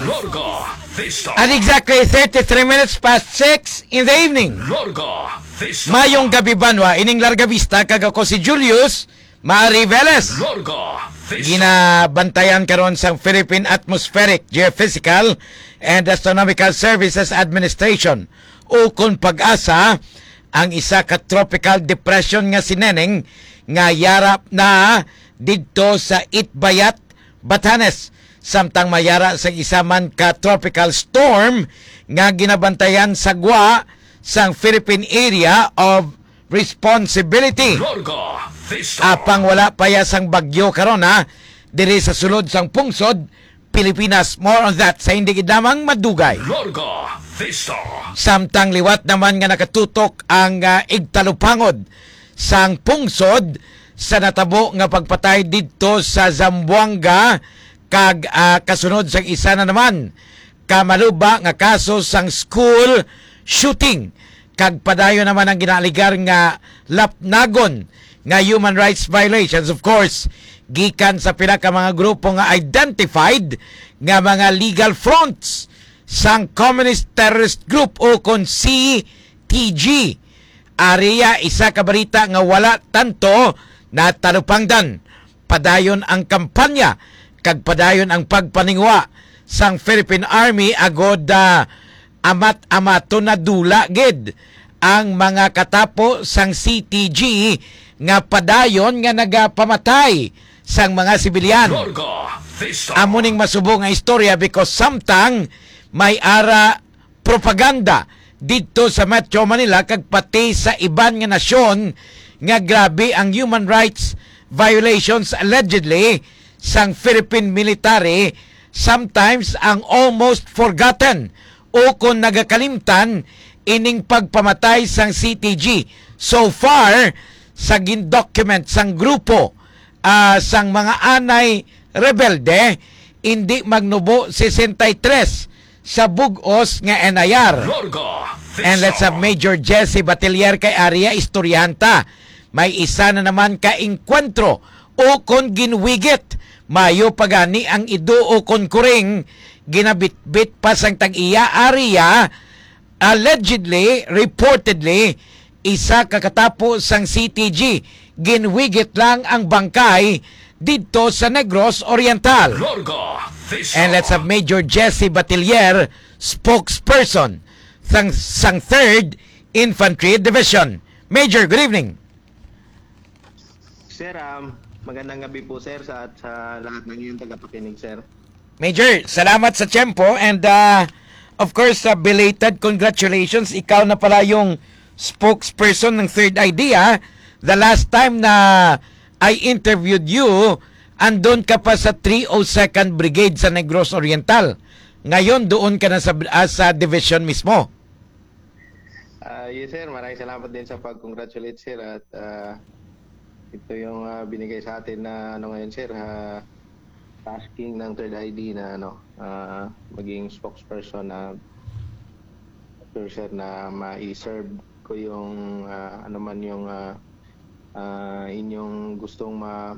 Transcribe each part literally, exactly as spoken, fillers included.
Larga Vista. At exactly thirty-three minutes past six in the evening. Larga Vista. Mayong gabi, banwa. Ining Larga Vista, kag ako si Julius Mari Velez. Larga Vista. Ginabantayan karon sang Philippine Atmospheric, Geophysical, and Astronomical Services Administration, ukon PAGASA, ang isa ka tropical depression nga si Neneng nga yara na didto sa Itbayat, Batanes, samtang mayara sa isa man ka tropical storm nga ginabantayan sa gwa sang Philippine Area of Responsibility. Larga Vista. Apang wala pa ya sang bagyo karon, ha, diri sa sulod sang pungsod Pilipinas. More on that sa hindi gid lamang madugay. Larga Vista. Samtang liwat naman nga nakatutok ang, ah, igtalupangod sang pungsod sa natabo nga pagpatay didto sa Zamboanga kag, ah, kasunod sang isa na naman ka maluba nga kaso sang school shooting, kag padayon naman ang ginaaligar nga lapnagon nga human rights violations, of course, gikan sa pila ka mga grupo nga identified nga mga legal fronts sang Communist Terrorist Group o kon C T G. Ari ya isa ka balita nga wala tanto natalupangdan. Padayon ang kampanya kag padayon ang pagpaninguha sang Philippine Army agod, ah, amat-amaton na dula gid ang mga katapo sang C T G nga padayon nga nagapamatay sang mga sibilyan. Larga Vista. Amo ning masubo nga istorya because samtang may ara propaganda didto sa Metro Manila kag pati sa iban nga nasyon nga grabe ang human rights violations allegedly sang Philippine military, sometimes ang almost forgotten o kon nagakalimtan ining pagpamatay sang C T G. So far, sa gindocument sang grupo, ah, sang mga anay rebelde, indi magnubo sesenta y tres sa bug-os nga N I R. Larga Vista. And let's have Major Jesse Batilier kay ari ya istoryahan ta. May isa na naman ka engkwentro o kon ginwigit. Mayo pa gani ang ido o kon kuring ginabitbit pa sang tag-iya ari ya. Allegedly, reportedly, isa ka katapo sang C T G, ginwigit lang ang bangkay didto sa Negros Oriental. Larga Vista. And let's have Major Jesse Batilier, spokesperson sang, sang Third Infantry Division. Major, good evening. Sir, um, magandang gabi po, sir, sa, sa lahat ng iyong tagapakinig, sir. Major, salamat sa tiyempo and, ah, of course, ah, belated congratulations. Ikaw na pala yung spokesperson ng Third Idea. The last time na I interviewed you, andun ka pa sa three oh second Brigade sa Negros Oriental. Ngayon, doon ka na sa, ah, sa division mismo. Ah, yes, sir. Maraming salamat din sa pag-congratulate, sir. At, ah, ito yung, ah, binigay sa atin na, ano, ngayon, sir, ah, tasking ng Third I D na, ano, ah, maging spokesperson na, sure, sir, na ma-serve ko yung, ah, ano man yung, ah, ah, inyong gustong ma-,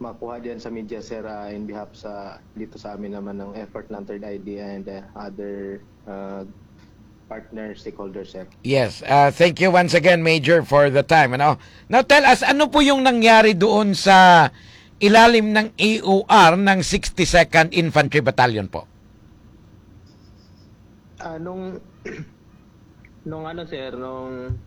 makuha diyan sa media, sir, ah, in behalf sa, dito sa amin naman ng effort ng Third I D and, ah, other, ah, partner stakeholders, sir. Yes, ah, thank you once again, Major, for the time, ano? Now, tell us, ano po yung nangyari doon sa ilalim ng A O R ng sixty-second Infantry Battalion po? Ah, nung, nung ano, sir, nung